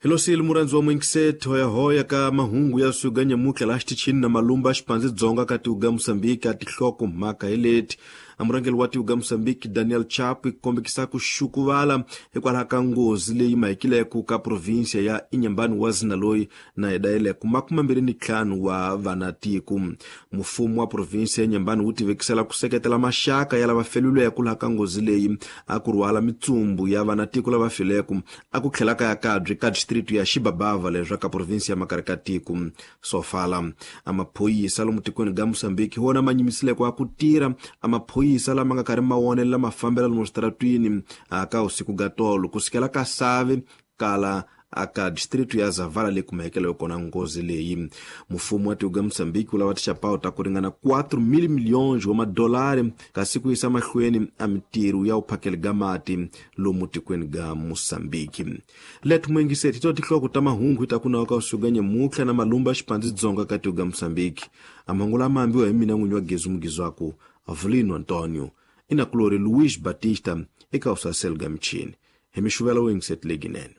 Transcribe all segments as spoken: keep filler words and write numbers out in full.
Hilosile murhandzi wa mwingiseti hoyahoya ka mahungu ya suga nyamutlha laha xitichini na malumba xipandzi dzonga ka tiuga Mosambiki a tihloko mhaka hi leti. Murhangeri wa tiuga Mosambiki Daniel Chapo kombekisa ku xukuvala hikwalaho ka nghozi leyi mahekileko ka provinsia ya Inhambane wa zina loyi na yidayeleko makume mbirhi ni ntlhanu wa vanatiko. Mfumo wa provinsia ya Inhambane wu tivekisela ku seketela maxaka ya lava feluleko laha ka nghozi leyi a ku rhwala mitsumbu ya vanatiko lava fileko a ku tlhela ka ya kabye ka district ya Xibabava leswa ka provinsia ya Makarikatiko Sofala. Amaphoyisa lomu tikweni ga Mosambiki wona ma nyimisileko a ku tirha amaphoyisa lama nga karhi ma wonelela mafambelo lomu switaratwini aka usiku ga tolo kusukela ka Save kala aka district ya Zavala leyi kumekelo kona nghozi leyi. Mfumo wa tiuga Mosambiki wu lava tixapawu ta ku ringana quatro mil milhões wa madolari kasi ku yisa mahlweni a mitirho ya uphakeli ga mati lomu tikweni ga Mosambiki. Let mwingiseti to tihloko ta mahungu ta ku nawa ka usuga nyamutlha na malumba xipandzi dzonga ka tiuga Mosambiki. Amahungu lama ambiwa hi mina n'winyi wa Gezu Mugizwaku Avelino Antonio inakulori Luis Batista eka usasel ga michini. Hi mixuvela wingiseti leginene.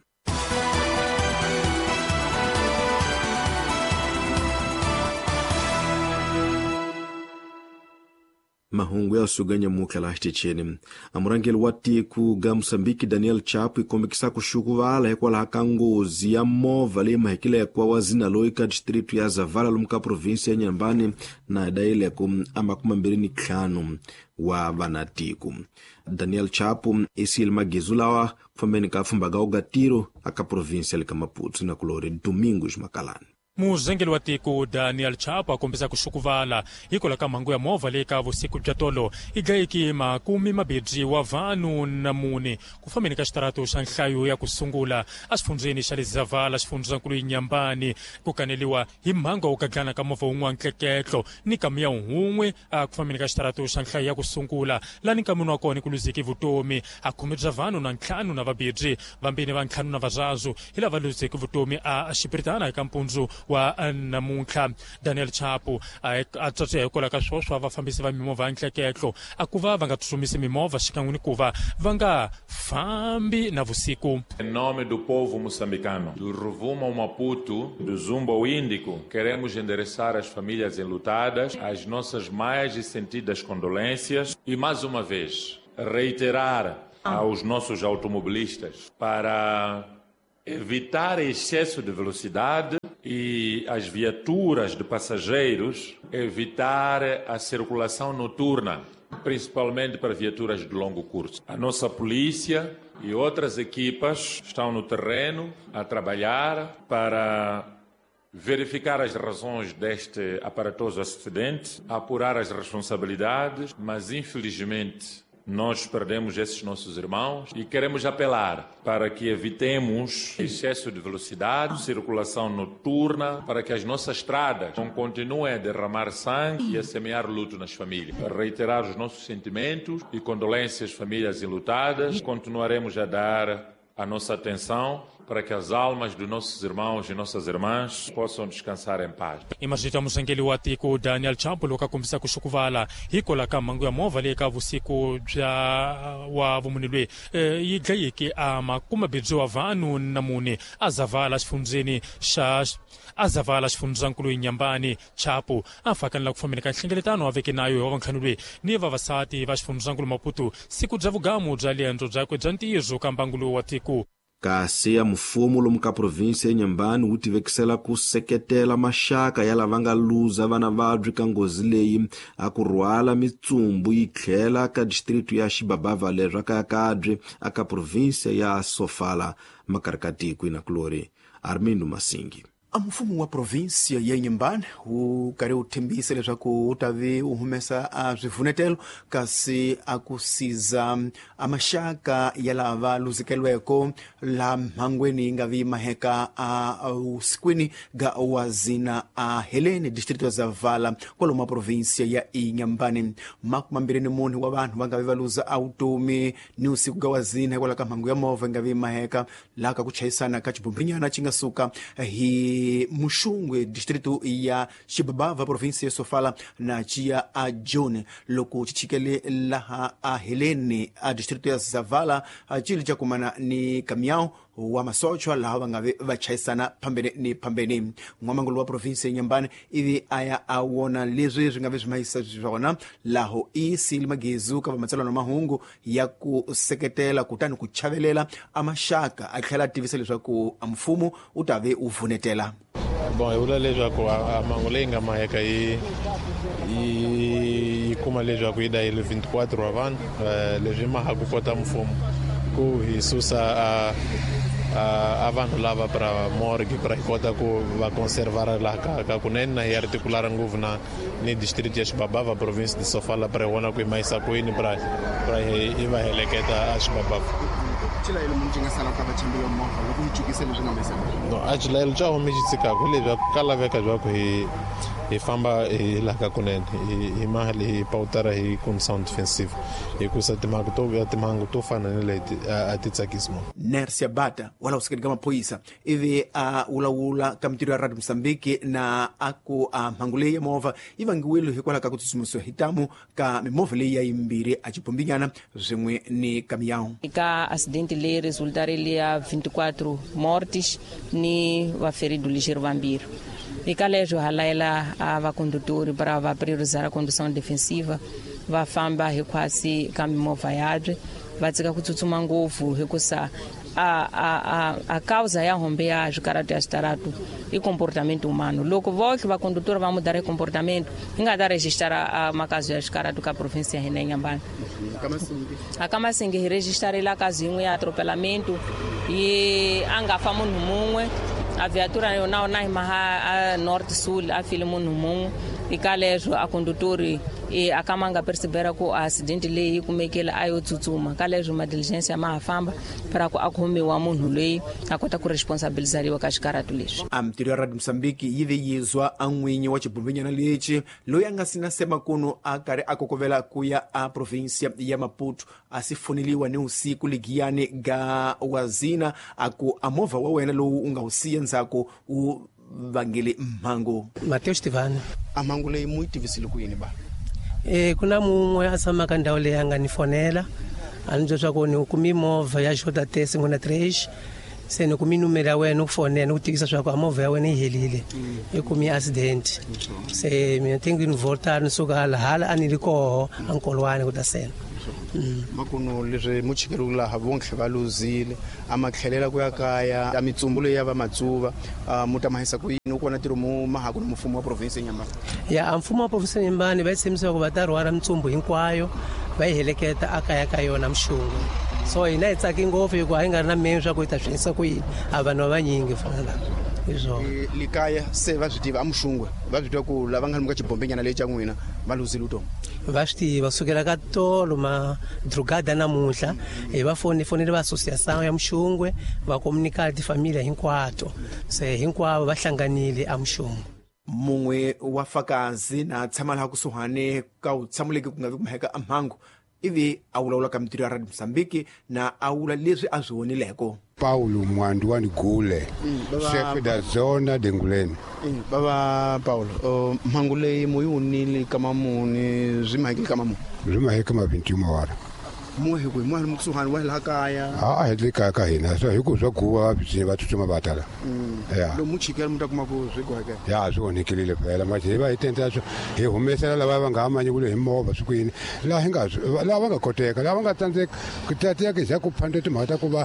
Mahungu ya suga nyamutlha laha xitichini. Amurhangeri wa tiko ga Mosambiki Daniel Chapo ikombekisa ku xukuvala hikwalaho ka nghozi ya movha leyi mahekileko wa zina loyi ka district ya Zavala lomu ka provinsia ya Inhambane na yidayeleko a makume mbirhi ni ntlhanu wa vanatiko. Daniel Chapo i siyile magezu lawa ku fambeni ka pfhumba ga ugatiro aka provinsia le ka Maputo na kulori Domingos Makalani. Murhangeri wa tiko Daniel Chapo a kombisa ku xukuvala hikwalaho ka mhangu ya movha leyi ka vusiku bya tolo yi dlayeke makumi mabirhi wa vanhu na mune ku fambeni ka xitarato xa nhlayo ya ku sungula exifundzheni xa le Zavala xifundzankulu Inhambane ku kaneliwa hi mhangu ya ku gaglana ka movha wun'we wa ntleketlo ni kamiya wun'we ku fambeni ka xitarato xa nhlayo ya ku sungula lani nkamini wa kona ku luzeke vutomi a khume bya vanhu na ntlhanu na vabirhi vambirhi va ntlhanu na varazu hi lava luzeke vutomi a xipiritana eka mpundzu wa namuntlha. Daniel Chapo a tsatse hikwalaho ka swoswo vafambisi va mimovha ya ntleketlo a ku va va nga tsutsumisi mimovha xikan'we ni ku va va nga fambi na vusiku. Em nome do povo moçambicano, do Rovuma ao Maputo, do Zumbo ao Índico, queremos endereçar às famílias enlutadas as nossas mais sentidas condolências e, mais uma vez, reiterar aos nossos automobilistas para evitar excesso de velocidade e as viaturas de passageiros, evitar a circulação noturna, principalmente para viaturas de longo curso. A nossa polícia e outras equipas estão no terreno a trabalhar para verificar as razões deste aparatoso acidente, apurar as responsabilidades, mas infelizmente nós perdemos esses nossos irmãos e queremos apelar para que evitemos excesso de velocidade, circulação noturna, para que as nossas estradas não continuem a derramar sangue e a semear luto nas famílias. Reiterar os nossos sentimentos e condolências às famílias enlutadas. Continuaremos a dar a nossa atenção para que as almas dos nossos irmãos e nossas irmãs possam descansar em paz. Imagita murhangeri wa tiko Daniel Chapo loko a kombisa ku xukuvala hikwalaho ka mhangu ya movha leyi ka vusiku bya wa vumune loyi yi dlayeke a makume mbirhi wa vanhu na mune a Zavala xifundzheni xa a Zavala xifundzankulu Inhambane. Chapo a fakanela ku fambeni ka nhlengeletano a veke nayo wa vantlhanu loyi ni vavasati va xifundzankulu Maputo siku bya vugamu bya liendzo byakwe bya ntirho ka mbangu lowu wa tiko. Kasi ya mfumo lomu ka provinsia ya Inhambane wu tivekisela ku seketela maxaka ya lava nga luza vana vabyi ka nghozi leyi a ku rhwala mitsumbu yi tlhela ka district ya Xibabava leswa ka Yakabye aka provinsia ya Sofala makarikatiko inakulori Armindo Masingi. A mfumo wa provinsia ya Inhambane wu karhi wu tshembisa leswaku wu ta vi wu humesa a swivunetelo kasi a ku siza a maxaka ya lava luzekeriweke laha mhangweni yi nga vi maheka a usikwini ga wazina a Helene distrito ya Zavala kwalomu provinsia ya Inhambane. Makumi mambirhi ni mune wa vanhu va nga vi va luza a vutomi ni usiku ga wazina hikwalaho ka mhangu ya movha yi nga vi maheka laha ka ku chayisana ka xibombinyana xi nga suka hi e Muxungwe distrito ya Xibabava província ya Sofala na chia a John loko chichikele laha a Helene a distrito ya Zavala a chili cha kumana ni kamiao wa masochwa laha va nga ve va chayisana phambene ni phambene. N'wamangulu wa province ya Nyambane ivi a ya a wona leswi swi nga ve swi mahisa swona laho i sili magezu ka vamatsalwa na mahungu ya ku seketela kutani ku chavelela a maxaka a tlhela a tivisa leswaku a mfumo wu ta ve wu vunetela. Bon, hi vula leswaku a mhangu leyi nga maheka yi yi kuma leswaku yi dayile vinte e quatro wa vanhu. Leswi ma ha ku kota mfumo ku hi susa a a vanhu lava pra morgue pra hi kota ku va conservar laha ka ka kunene na hi articular ngopfu na ni district ya Xibabava province de Sofala pra hi vona ku hi mahisa kwini pra pra hi hi va heleketa a Xibabava. Xilayelo munhu xi nga sala ka vachambeli va movha loko mi chukisa leswi nga mahisa? No, a xilayelo xa home xi tshikaka hi leswaku ka laveka leswaku hi hi famba hi laha ka kunene hi hi mali hi pawutara hi condição defensive hikusa timhangu to timhangu to fana ni leti a ti tsakisi munhu. Nersia Bata wala usikeni ka maphorisa ivi a vulavula ka mintirho ya Radio Mozambique na a ku a mhangu leyi ya movha yi vangiwile hikwalaho ka ku tsutsumisiwa hi tamu ka mimovha leyi ya yimbirhi a xibombinyana swin'we ni kamiyawu. Ka acidente leyi resultarile ya vinte e quatro mortes ni vaferido ligeiro vambirhi. Eka leswo ha layela a vacondutori para va priorizar a condução defensiva, va famba hinkwasi ka mimovha yabye, va tshika ku tsutsuma ngopfu hikusa a a a a causa ya hombe ya swikaratu ya switaratu i comportamento humano. Loko voxe vacondutori va mudar comportamento hi nga ta registara a makazi ya swikaratu ka província ya hina ya Nyambane. A ka Masingi hi registarile kazi yin'we ya atropelamento yi a nga fa munhu mun'we a viatura yona na hi maha a north sul a file munhu mun'we. Eka leswo a condutori e a kama nga percebera ku accident leyi yi kumekile a yo tsutsuma. Ka leswo ma diligence ma ha famba para ku a khomiwa munhu loyi a kota ku responsabilizariwa ka xikaratu leswi. A mintirho ya Radio Mozambique yi ve yizwa a n'winyi wa xibombinyana lexi loyi a nga sina semakunu a karhi a kokovela ku ya a província ya Maputo a si foneliwa ni usiku ligiyani ga wazina a ku a movha wa wena lowu u nga wu siya ndzhaku wu vangele mhangu. Mateus Tivani. A mhangu leyi mu yi tivisile ku yini ba? E ku na mun'we a tshamaka ndhawu leyi a nga ni fonela a ni byela swa ku ni kumi movha ya J T cinquenta e três se ni kumi numero ya wena u fonela ni ku tivisa swa ku a movha ya wena yi helile i kumi accident se mina tengo ni voltar ni suka hala hala a ni ri koho a nkolwani ku ta sena. Makuno leswi muchikeri laha vontlhe va luzile a ma tlhelela ku ya kaya a mitsumbu leyi ya va matsuva mu ta mahisa ku yini u kona ntirho mu mahaku ni mfumo wa province ya Nyambane? Ya a mfumo wa province ya Nyambane va tshembisa ku va ta rhwala mitsumbu hinkwayo va yi heleketa a kaya ka yona Mxungu. So hina hi tsaki ngopfu hikuva a yi nga ri na memi swa ku yi ta swi endlisa ku yini a vanhu va vanyingi fana lava hi swona. Likaya se va swi tiva a Muxungwe va swi tiva ku lava nga lomu ka xibombenyana leyi xa n'wina va luzile vutomi? Va swi tiva sukela ka tolo madrugada namuntlha hi va foni fonele va associação ya Muxungwe va komunikala tifamiliya hinkwato se hinkwavo va hlanganile a Muxungwe. Mun'we wa fakazi na tshama laha kusuhani ka wu tshamuleki ku nga vi ku maheka a mhangu ivi a vulavula ka mintirho ya Radio Mozambique na a vula leswi a swi vonileko. Paulo Mwandu Gule, chefe da zona de Nguleni. Baba Paulo, mhangu leyi mu yi wunile ka mamuni swi mahekile ka mamuni? Swi maheke ma vinte e uma hora. Muhe kwihi? Muhe kusuhani wa laha kaya? A hi le kaya ka hina so hi ku swa guva va tsutsuma va tala. Ya. Lomu chikela mi ta kuma ku swi goheke? Ya swi onhekile phela manje hi va hi tendla swo hi humesela lava va nga amanyi kule hi movha swi ku yini laha hi nga lava nga koteka lava nga tsandzeka ku tatiya ke za ku phanda timhaka ta ku va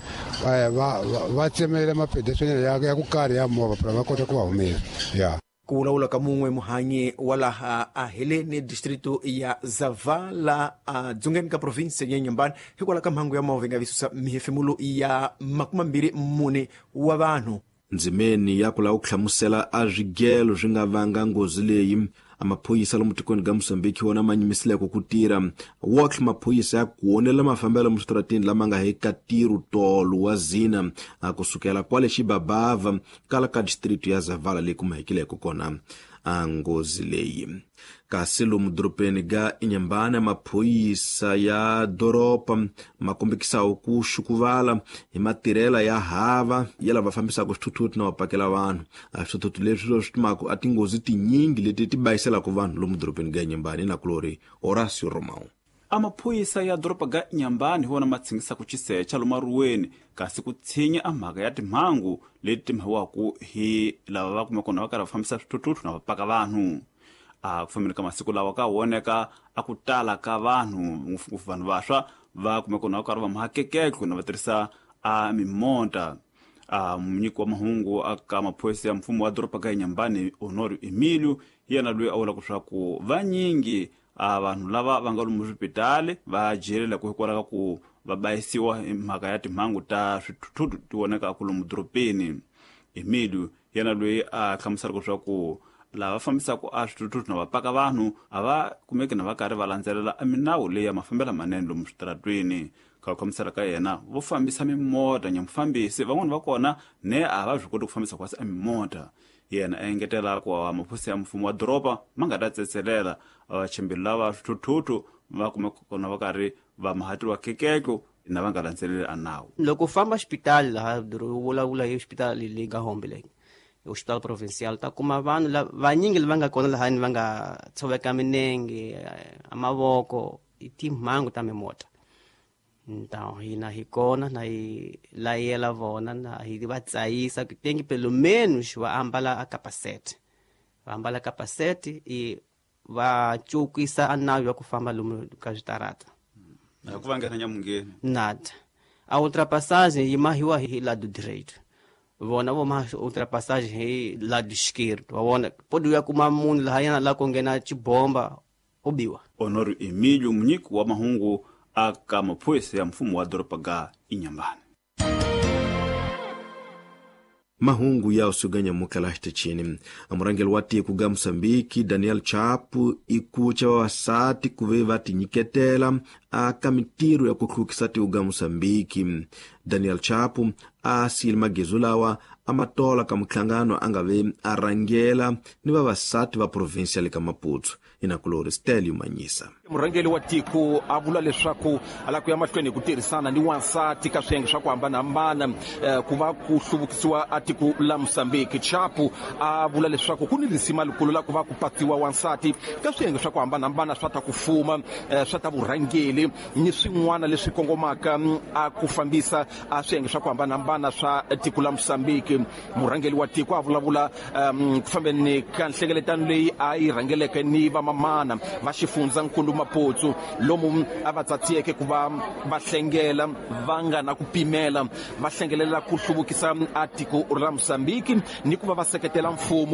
va va tsemela mapedesweni ya ya ku karhi ya movha phela va kota ku va humesa. Ya. Ku vulavula ka mun'we muhanyi wa laha a Helene distrito ya Zavala a dzongeni ka province ya Nyambane hikwalaho ka mhangu ya movha yi nga visusa mihefemulo ya makumambirhi mune wa vanhu. Ndzimeni ya ku lava ku hlamusela a swigelo swi nga vanga nghozi leyi a maphorisa lomu tikweni ka Mozambique wona ma nyimisileko ku tirha wotlhe maphorisa ya ku onela mafambelo musitaratini lama nga eka ntirho tolo wa zina a kusukela kwale Xibabava kala ka distrito ya Zavala leyi kumekileko kona a nghozi leyi. Kasi lomu dorobeni ga Inhambane maphorisa ya doroba ma kombekisaku ku xukuvala hi matirhela ya hava ya lava fambisaka swithuthuthu na va pakela vanhu. A swithuthuthu leswi swi timaka a tinghozi tinyingi leti ti bayiselaka vanhu lomu dorobeni ga Inhambane na kulori Horacio Romão. Amaphorisa ya doroba ga Inhambane hi wona ma tshingisaka xisecha lomu maruweni kasi ku tshinya a mhaka ya timhangu leti timhiwaku hi lava va kumeka na va karhi va fambisa swithuthuthu na va paka vanhu. A ku fambeni ka masiku lawa ka voneka a ku tala ka vanhu ngopfungopfu vanhu vantshwa va kumeka na va karhi va mahakekeko na va tirhisa a mimonta. A munyiki wa mahungu aka maphorisa ya mfumo wa doroba ga Inhambane Honório Emílio yena loyi a vulaka leswaku vanyingi a vanhu lava va nga lomu swipitali va jelela ku hikwalaho ka ku va bayisiwa hi mhaka ya timhangu ta swithuthuthu ti vonekaka lomu dorobeni. Emílio yena loyi a hlamuselaka leswaku lava fambisaka a swithuthuthu na va paka vanhu a va kumeki na va karhi va landzelela a minawu leyi ya mafambelo manene lomu switaratweni. Ka ku hlamusela ka yena vo fambisa mimota nyamufambisi van'wani va kona ne a va swi koti ku fambisa kwasi a mimota. Yena a engetela ku maphorisa ya mfumo wa doroba ma nga ta tsetselela vachimbeli lava swithuthuthu va kumeka kona va karhi va mahatiwa kekeko na va nga landzeleli a nawu. Loko u famba xipitali laha vulavula hi xipitali leyi nga Hombe leyi hospital provincial ta kuma vanhu vanyingi lava nga kona lahani va nga tshoveka minenge a mavoko i timhangu ta mimota. Então hina hi kona na hi layela vona na hi va tsayisa ku tem que pelo menos va ambala a capacete va ambala capacete e va cukisa a nawu ya ku famba lomu ka switarata na ku va nghena nyamungeni nada. A ultrapassagem yi mahiwa hi lado direito vona vo ma ultrapassagem hi lado esquerdo wa vona pode ya kuma munhu lahayana la ku nghena xibomba u biwa. Honório Emílio munyiki wa mahungu aka maphorisa ya mfumo wa doroba ga Inhambane. Mahungu ya usuganya mukala xitichini. Murangeli wa tiko ga Mozambique Daniel Chapo ikucha vavasati ku ve va tinyiketela aka mintirho ya ku hlukisa tiko ga Mozambique. Daniel Chapo a siyile magezu lawa a ma tola ka muhlangano a nga ve a rhangela ni vavasati va provinsi ya le ka Maputo. Inakulori Stelio Manyisa. Murhangeri wa tiko a vula leswaku a lava ku ya mahlweni hi ku tirhisana ni wansati ka swiyenge swa ku hambanahambana ku va ku hluvukisiwa a tiko la Mozambique. Chapo a vula leswaku ku ni risima likulu la ku va ku patsiwa wansati ka swiyenge swa ku hambanahambana swa ta ku fuma swa ta vurhangeri ni swin'wana leswi kongomaka a ku fambisa a swiyenge swa ku hambanahambana swa tiko la Mozambique. Murhangeri wa tiko a vulavula ku fambeni ka nhlengeletano leyi a yi rhangeleke ni vamamana va xifundzankulu Maputo lomu a va tsatsiyeke ku va va hlengela va nga na ku pimela va hlengelela ku hluvukisa a tiko ra Mozambique ni ku va va seketela mfumo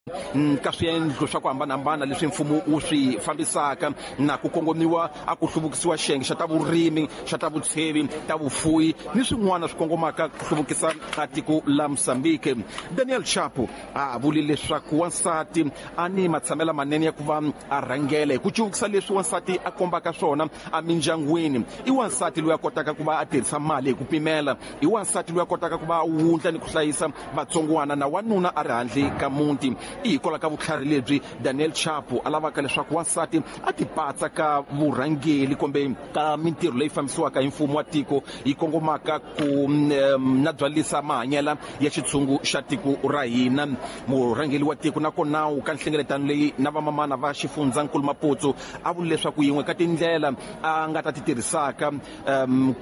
ka swiendlo swa ku hambanahambana leswi mfumo wu swi fambisaka na ku kongomiwa a ku hluvukisiwa xiyenge xa ta vurimi xa ta vutshevi ta vufuwi ni swin'wana swi kongomaka ku hluvukisa a tiko la Mozambique. Daniel Chapo a vule leswaku wansati a ni matshamela manene ya ku va a rhangela hi ku cuvukisa leswi wansati a kombaka swona emindyangwini. I wansati loyi a kotaka ku va a tirhisa mali hi ku pimela, i wansati loyi a kotaka ku va a wundla ni ku hlayisa vatsongwana na wanuna a ri handle ka muti. I hikwalaho ka vutlhari lebyi Daniel Chapo a lavaka leswaku wansati a tipatsa ka vurhangeri kumbe ka mintirho leyi fambisiwaka hi mfumo wa tiko yi kongomaka ku na byalisa mahanyela ya xitshungu xa tiko ra hina. Murhangeri wa tiko nakona wu ka nhlengeletano leyi na vamamana va xifundzankulu Maputo a vula leswaku yin'we ka tindlela a nga ta ti tirhisaka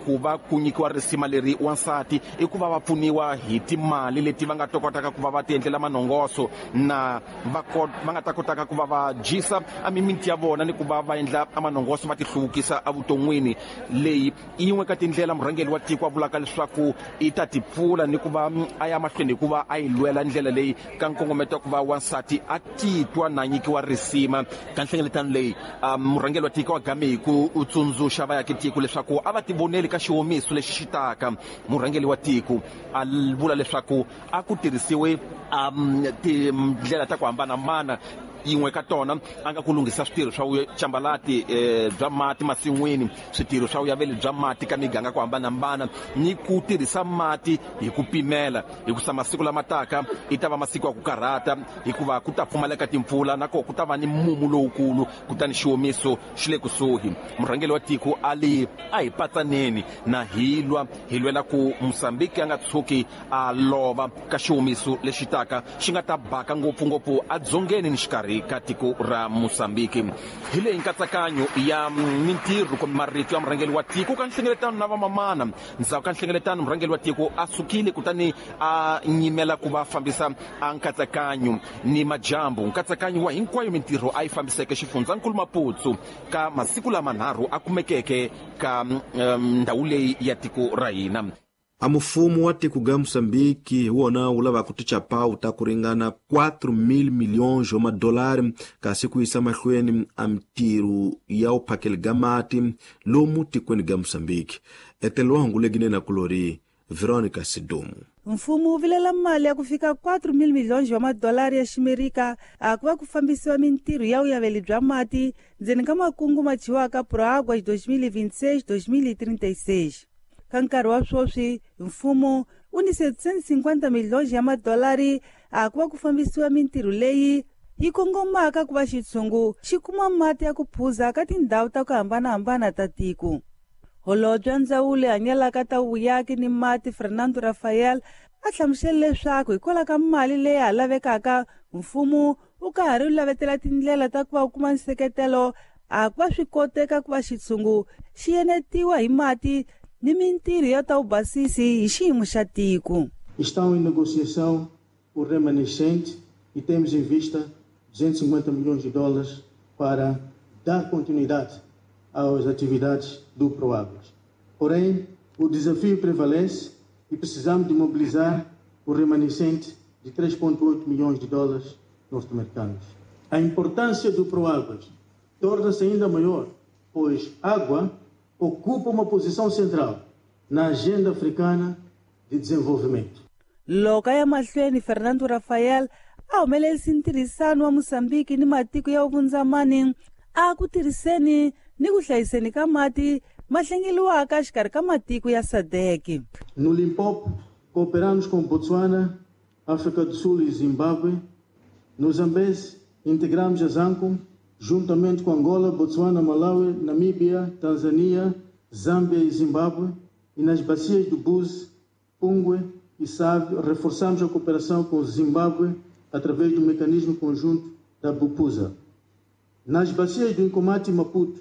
ku va ku nyikiwa risima leri wansati i ku va va pfuniwa hi timali leti va nga ta kotaka ku va va ti endlela manongoso na va va nga ta kotaka ku va va dyisa a mimiti ya vona ni ku va va endla manongoso va ti hluvukisa evuton'wini. Leyi i yin'we ka tindlela murhangeri wa tiko a vulaka leswaku i ta ti pfula ni ku va a ya mahlweni hi ku va a yi lwela ndlela leyi ka nkongometo wa ku va wansati a titwa na nyikiwa risima. Ka nhlengeletano leyi murhangeri wa tiko a game hi ku tsundzuxa vaakatiko leswaku a va tivoneli ka xiwomiso lexi xi taka. Murhangeri wa tiko a vula leswaku a ku tirhisiwe tindlela ta ku hambanahambana Yin'we ka tona a nga ku lunghisa switirho swa chambalati bya mati masin'wini, switirho swa vuyaveli bya mati ka miganga ku hambanahambana, ni ku tirhisa mati hi ku pimela, hikusa masiku lama taka i ta va masiku ya ku karhata, hikuva ku ta pfumaleka timpfula na ko ku ta va ni mumu lowukulu, kutani xiwomiso xi le kusuhi. Murhangeri wa tiko a li a hi patsaneni na hi lwa hi lwela ku Mozambique a nga tshuki a lova ka xiwomiso lexi taka xi nga ta baka ngopfungopfu edzongeni ni xikarhi ka tiko ra Mozambique. Hi leyi nkatsakanyo ya mintirho kumbe marito ya murhangeri wa tiko ka nhlengeletano na vamamana. Ndzhaku ka nhlengeletano murhangeri wa tiko a sukile kutani a nyimela ku va fambisa a nkatsakanyo ni majambu. Nkatsakanyo wa hinkwayo mintirho a yi fambiseke xifundzankulu Maputo ka masiku lamanharhu a kumekeke ka ndhawu leyi ya tiko ra hina. A mufumo wa tiko ga Mozambique hi wona wu lavaka tichapau ta ku ringana quatro mil milhões wa madolari kasi ku yisa mahlweni a mintirho ya uphakeli ga mati lomu tikweni ga Mozambique. Etelo hangulekine na kulori Veronica Sidomu. Mfumo wu vilela mali ya ku fika quatro mil milhões wa madolari ya ximerika a ku va ku fambisiwa mintirho ya vuyaveli bya mati ndzeni ka makungu ma dyiwaka Proáguas dois mil e vinte e seis dois mil e trinta e seis. Ka nkarhi wa sweswi mfumo wu ni setecentos e cinquenta milhões ya madolari a ku va ku fambisiwa mintirho leyi yi kongomaka ku va xitshungu xi kuma mati ya ku phuza ka tindhawu ta ku hambanahambana ta tiko. Holobye wa ndzawulo yi hanyelaka ta vuyaki ni mati Fernando Rafael a hlamusele leswaku hikwalaho ka mali leyi ha lavekaka mfumo wu ka ha ri lavetela tindlela ta ku va wu kuma nseketelo a ku va swi koteka ku va xitshungu xi enetiwa hi mati ni mintirho ya ta vubasisi hi xiyimo xa tiko. Estão em negociação o remanescente e temos em vista duzentos e cinquenta milhões de dólares para dar continuidade às atividades do Proáguas. Porém, o desafio prevalece e precisamos de mobilizar o remanescente de três vírgula oito milhões de dólares norte-americanos. A importância do Proáguas torna-se ainda maior, pois água ocupa uma posição central na agenda africana de desenvolvimento. Loko ya mahlweni Fernando Rafael a humelerisa ntirhisano wa Mozambique ni matiko ya vundzamani a ku tirhiseni ni ku hlayiseni ka mati ma hlengeliwaka xikarhi ka matiko ya S A D C. No Limpopo, cooperamos com Botswana, África do Sul e Zimbábue. No Zambeze, integramos a ZANCOM, juntamente com Angola, Botswana, Malawi, Namíbia, Tanzânia, Zâmbia e Zimbábue. E nas bacias do Búzi, Pungue e Save, reforçamos a cooperação com o Zimbábue através do mecanismo conjunto da BUPUSA. Nas bacias do Incomati e Maputo,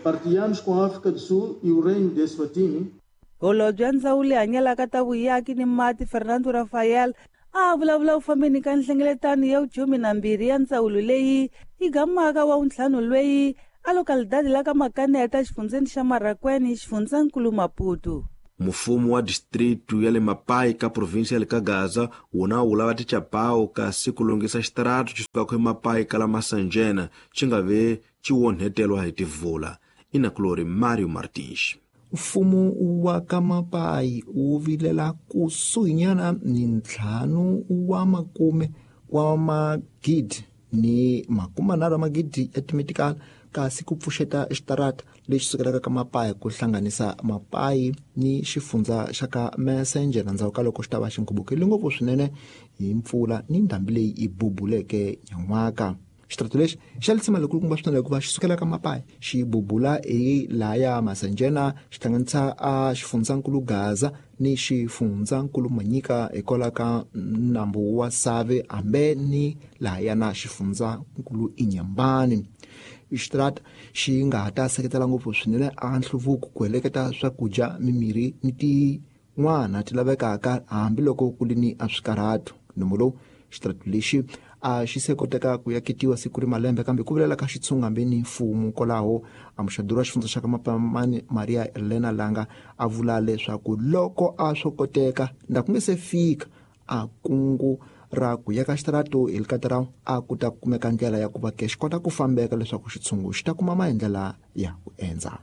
partilhamos com a África do Sul e o Reino de Eswatini. Holobye wa ndzawulo yi hanyelaka ta vuyaki ni mati Fernando Rafael a vulavula u fambeni ka nhlengeletano ya vukhume na mbirhi ya ndzawulo leyi yi gamaka wa wuntlhanu lweyi a localidade la ka Makaneta xifundzeni xa Marracuene xifundzankulu Maputo. Mufumo wa distritu ya le Mapai ka província ya le ka Gaza wona wu lava tichapau kasi ku lunghisa xitaratu xi sukaka eMapai ka la Massanjena xi nga ve xi onhetelwa hi tivula. Inakulori Mario Martins. Mfumo wa ka Mapai wu vilela kusuhinyana ni ntlhanu wa makume wa magidi ni makume nharhu wa magidi ya timetikala kasi ku pfuxeta xitarata lexi sukelaka ka Mapai ku hlanganisa Mapai ni xifundza xa ka Messenger ndzhaku ka loko xi ta va xi nkhubukile ngopfu swinene hi mpfula ni ndhambi leyi yi bubuleke nyan'waka. Xitarata lexi xa lisima lekulukumba swinene hikuva xi sukela ka Mapai xi bubula hi laya Masanjena xi hlanganisa a xifundzankulu Gaza ni xifundzankulu Manyika hikwalaho ka nambu wa Save hambe ni lahaya na xifundzankulu Inhambane. Xitarata xi nga ha ta seketela ngopfu swinene a nhluvuko ku heleketa swakudya, mimirhi ni tin'wana ti lavekaka hambiloko ku ri ni a swikarhato. Nomo lowu xitarata lexi a xi se koteka ku yaketiwa siku ri malembe kambe ku vilela ka xitshunga hambi ni mfumo kwalaho. A muxaduri wa xifundza xa ka Mapamani Maria Elena Langa a vula leswaku loko a swo koteka nda ku nge se fika a kungu ra ku yaka xitarata hi likata ra a ku ta kumeka ndlela ya ku va ke xi kota ku fambeka leswaku xitshungu xi ta kuma maendlela ya ku endza.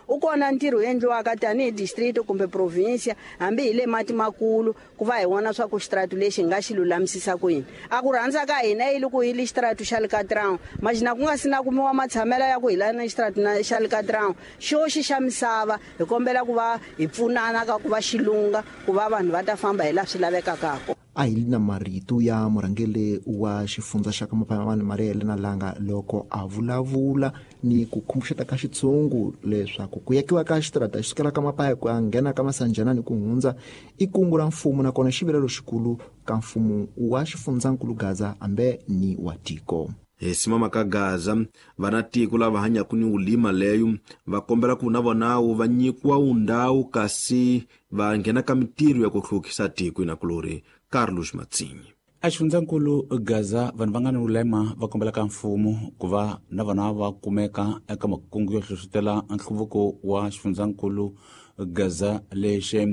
O kona ntirho wu endliwaka tanihi district kumbe province hambi hi le mati makulu ku va hi vona swa ku xitaratu lexi hi nga xi lulamisisa ku yini. A ku rhandza ka hina yi loko hi le xitaratu xa le Katrão majina ku nga si na kumiwa matshamelo ya ku hi lana xitaratu na xa le Katrão xo xi xa misava hi kombela ku va hi pfunana ka ku va xilunga ku va vanhu va ta famba hi laha swi lavekaka kona. A hi na marito ya murhangeri wa xifundza xa ka Mapayamani Maria Helena Langa loko a vulavula ni ku khumbuxeta ka xitshungu leswaku ku yakiwa ka xitarata xi sukela ka Mapaya ku ya nghena ka Masanjana ni ku hundza i kungu ra mfumo nakona xivilelo xikulu ka mfumo wa xifundzankulu Gaza ambe ni wa tiko. Hi simama ka Gaza vana tiko lava hanyaka ni ulima leyo va kombela ku na vona va nyikiwa undhawu kasi va nghena ka mintirho ya ku hluvukisa tiko inakulori. Carlos Matsinyi. A xifundzankulu Gaza vanhu va nga ni ulema va kombela ka mfumo ku va na vona va kumeka eka makungu yo hlohlotela nhluvuko wa xifundzankulu Gaza lexe.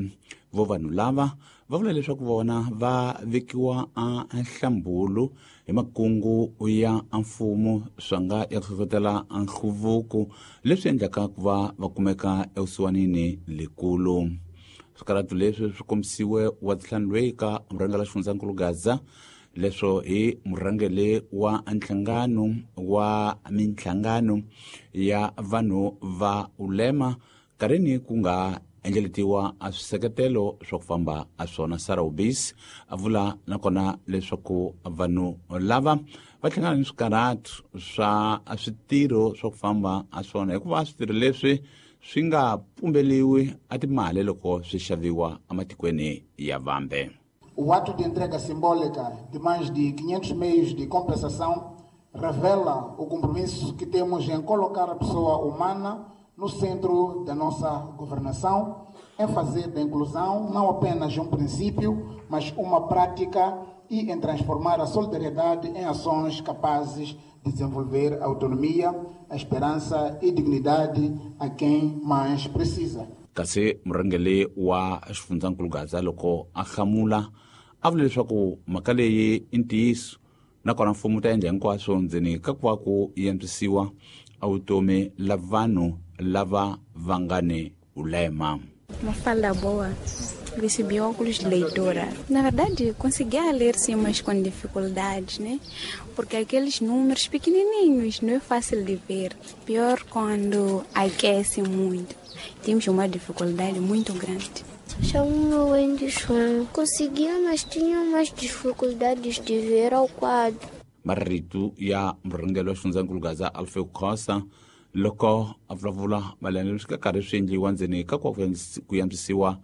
Vo vanhu lava va vula leswaku vona va vekiwa a nhlambulu hi makungu ya mfumo swa nga ya ku hlohlotela nhluvuko leswi endlaka ku va va kumeka evusiwanini lekulu. Swikaratu leswi swi kombisiwe wa ntlhanu loyi ka murhangeri wa xifundzankulu Gaza leswo hi murhangeri wa nhlangano wa minhlangano ya vanhu va ulema kareni ku nga endleletiwa a swiseketelo swa ku famba a swona. Sarah Ubis a vula nakona leswaku vanhu lava va hlangana ni swikaratu swa switirho swa ku famba a swona hikuva switirho leswi swi nga pumbeliwi a timali loko swi xaviwa ematikweni ya vambe. O ato de entrega simbólica de mais de quinhentos meios de compensação revela o compromisso que temos em colocar a pessoa humana no centro da nossa governação, em fazer da inclusão não apenas um princípio, mas uma prática e em transformar a solidariedade em ações capazes de desenvolver a autonomia, a esperança e dignidade a quem mais precisa. Kasi murhangeri wa xifundzankulu Gaza loko a hlamula a vula leswaku mhaka leyi i ntiyiso nakona mfumo wu ta endla hinkwaswo ndzeni ka ku va ku antswisiwa a vutomi la vanhu lava va nga ni ulema. Uma fala boa. Recebi óculos de leitura. Na verdade, conseguia ler sim, mas com dificuldades, né? Porque aqueles números pequenininhos não é fácil de ver. Pior quando aquece muito. Temos uma dificuldade muito grande. Chamo-me Wendy João. Conseguia, mas tinha mais dificuldades de ver ao quadro. Marito ya murhangeri wa xifundzankulu Gaza Alfeu Khosa loko a vulavula mayelana leswi ka karhi swi endliwa ndzeni ka ku ku antswisiwa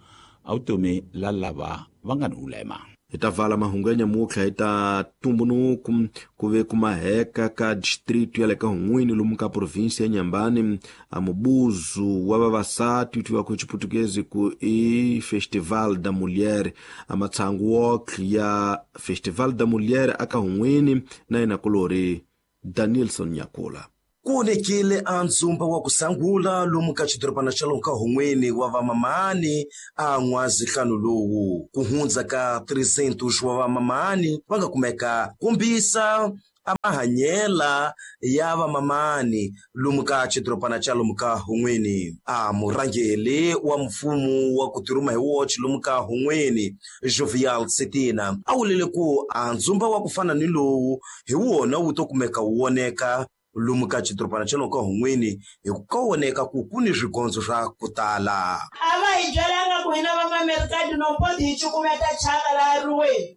a vutomi la lava va nga ni ulema. Hi ta vala mahungu ya nyamutlha hi ta tumbunuku ku ve ku maheka ka district ya le ka Hun'wini lomu ka provinsi ya Nyambani a mubuzu wa vavasati tiwa ku Chiputukezi ku i Festival da Mulher a matsangu wok ya Festival da Mulher aka Hun'wini na yena kulori Danielson Nyakula. Ku onekile a ndzumba wa ku sangula lomu ka xidorobana xa lomu ka Hun'wini wa vamamani a n'wazihlanu lowu ku hundza ka trezentos wa vamamani va nga kumeka kombisa a mahanyela ya vamamani lomu ka xidorobana xa lomu ka Hun'wini. A murhangeri wa mfumo wa ku tirhuma hi woxe lomu ka Hun'wini Jovial Setina a vulile ku a ndzumba wa ku fana ni lowu hi wona wu to kumeka wu voneka lomu ka xidorobana xa lomu ka Hun'wini hi ku ka voneka ku ku ni swigondzo swa ku tala. A va hi byelanga ku hina vamamerikati no poti hi cukumeta chaka laha ruweni.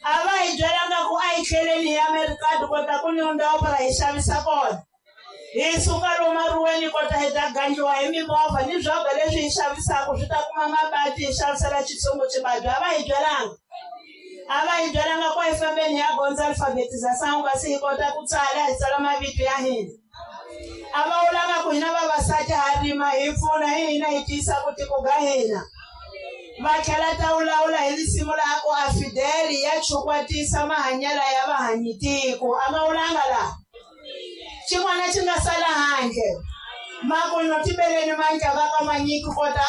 A va hi byelanga ku a hi tlheleni hi amerikati kota ku ni ndhawu para hi xavisa kona. Hi suka lomu ruweni kota hi ta gangiwa hi mimovha ni swakudya leswi hi xavisaka swi ta kuma mabati hi xavisela xitshungu xibabyi. A va hi byelanga. A va hi byelanga ku hi fambeni hi ya gondza alfabetização kasi hi kota ku tsala hi tsala mavito ya hina. A va vulanga ku hina vavasati ha rima hi pfuna hi hina hi tiyisa ku tiko ga hina. Va tlhela ta vulavula hi risimu laha ku a Fidel ya chukwatisa mahanyelo ya vahanyitiko. A va vulanga laha. Xin'wana xi nga sala handle maku no tibeleni mandla va ka manyiki kota